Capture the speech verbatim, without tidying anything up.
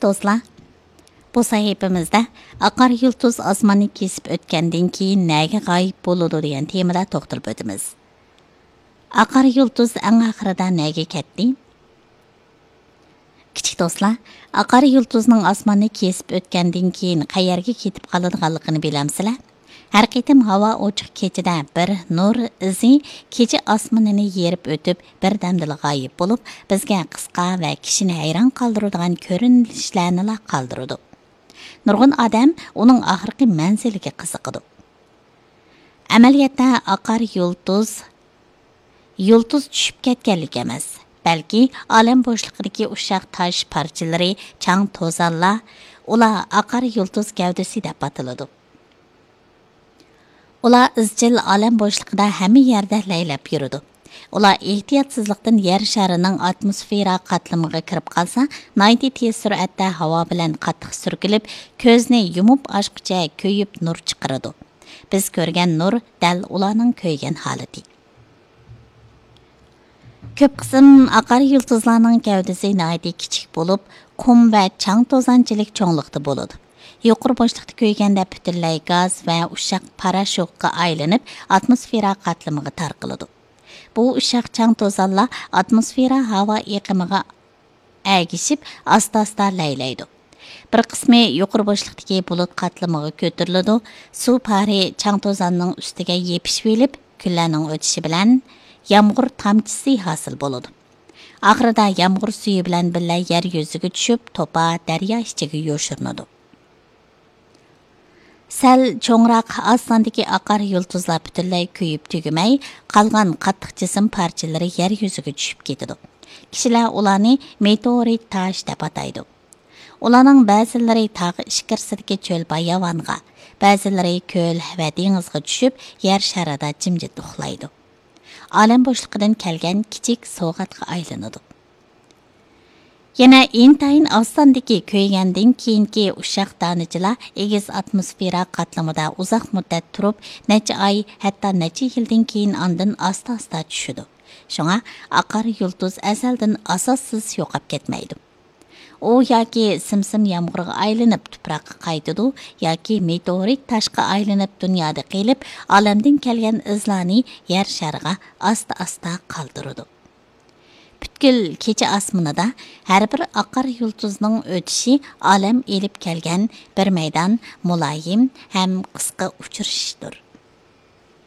دوستلار، بۇ سەھىپىمىزدە ئاقار يۇلتۇز ئاسماننى كېسىپ ئۆتكەندىن كېيىن نەگە غايىب بولىدۇ دېگەن تېمىدا توختىلىپ ئۆتىمىز. ئاقار يۇلتۇز ئەڭ ئاخىرىدا نەگە كەتتى؟ كىچىك دوستلار، ئاقار يۇلتۇزنىڭ ئاسماننى كېسىپ ئۆتكەندىن كېيىن قەيەرگە كېتىپ قالىدىغانلىقىنى بىلەمسىلەر؟ ھەر قېتىم ھاۋا ئوچۇق كېچىدە بىر نۇر ئىزى كېچە ئاسمىنىنى يېرىپ ئۆتۈپ، بىردەمدىلا غايىب بولۇپ، بىزگە قىسقا ۋە كىشىنى ھەيران قالدۇرىدىغان كۆرۈنۈشلەرنىلا قالدۇرىدۇ. نۇرغۇن ئادەم ئۇنىڭ ئاخىرقى مەنزىلىگە قىزىقىدۇ. ئەمەلىيەتتە ئاقار يۇلتۇز، يۇلتۇز چۈشۈپ كەتكەنلىك ئەمەس، بەلكى ئالەم بوشلۇقىدىكى ئۇششاق تاش پارچىلىرى، چاڭ توزانلار، ئۇلار ئاقار يۇلتۇز گەۋدىسى دەپ ئاتىلىدۇ. ئۇلار ئىزچىل ئالەم بوشلۇقىدا ھەممە يەردە لەيلەپ يۈرىدۇ. ئۇلار ئېھتىياتسىزلىقتىن يەر شارىنىڭ ئاتموسفېرا قاتلىمىغا كىرىپ قالسا، ناھايىتى تېز سۈرئەتتە ھاۋا بىلەن قاتتىق سۈركىلىپ، كۆزنى يۇمۇپ ئاچقۇچە كۆيۈپ نۇر چىقىرىدۇ. بىز كۆرگەن نۇر دەل ئۇلارنىڭ كۆيگەن ھالىتى. كۆپ قىسىم ئاقار يۇلتۇزلارنىڭ گەۋدىسى ناھايىتى كىچىك بولۇپ، قۇم ۋە چاڭ توزانچىلىك چوڭلۇقتا بولىدۇ. يۇقىرى بوشلۇقتا كۆيگەندە پۈتۈنلەي گاز ۋە ئۇششاق پاراشوكقا ئايلىنىپ، ئاتموسفېرا قاتلىمىغا تارقىلىدۇ. بۇ ئۇششاق چاڭ توزانلار ئاتموسفېرا ھاۋا ئېقىمىغا ئەگىشىپ، ئاستا-ئاستا لەيلەيدۇ. بىر قىسمى يۇقىرى بوشلۇقتىكى بۇلۇت قاتلىمىغا كۆتۈرۈلىدۇ، سۇ پارى چاڭ توزاننىڭ ئۈستىگە يېپىشىۋېلىپ، كۈنلەرنىڭ ئۆتۈشى بىلەن يامغۇر تامچىسى ھاسىل بولىدۇ. ئاخىرىدا يامغۇر سۈيى بىلەن بىللە يەر يۈزىگە چۈشۈپ، توپا دەريا ئىچىگە يوشۇرۇنىدۇ. سەل چوڭراق ئاز ساندىكى ئاقار يۇلتۇزلار پۈتۈنلەي كۆيۈپ تۈگىمەي، قالغان قاتتىق جىسىم پارچىلىرى يەر يۈزىگە چۈشۈپ كېتىدۇ. كىشىلەر ئۇلارنى مېتېئورىت تاش دەپ ئاتايدۇ. ئۇلارنىڭ بەزىلىرى تاغ ئىچكىرىسىدىكى چۆل باياۋانغا، بەزىلىرى كۆل ۋە دېڭىزغا چۈشۈپ، يەر شارىدا جىمجىت ئۇخلايدۇ. ئالەم بوشلۇقىدىن كەلگەن كىچىك سوۋغاتقا ئايلىنىدۇ. يەنە ئىنتايىن ئاز ساندىكى كۆيگەندىن كېيىنكى ئۇششاق دانىچىلار ئېگىز ئاتموسفېرا قاتلىمىدا ئۇزاق مۇددەت تۇرۇپ، نەچچە ئاي، ھەتتا نەچچە يىلدىن كېيىن ئاندىن ئاستا-ئاستا چۈشىدۇ. شۇڭا ئاقار يۇلتۇز ئەزەلدىن ئاساسسىز يوقاپ كەتمەيدۇ. ئۇ ياكى سىم-سىم يامغۇرغا ئايلىنىپ تۇپراققا قايتىدۇ، ياكى مېتېئورىت تاشقا ئايلىنىپ دۇنيادا قېلىپ، ئالەمدىن كەلگەن ئىزلارنى يەر شارىغا ئاستا-ئاستا قالدۇرىدۇ. پۈتكۈل كېچە ئاسمىنىدا ھەر بىر ئاقار يۇلتۇزنىڭ ئۆتۈشى ئالەم ئېلىپ كەلگەن بىر مەيدان مۇلايىم ھەم قىسقا ئۇچرىشىشتۇر.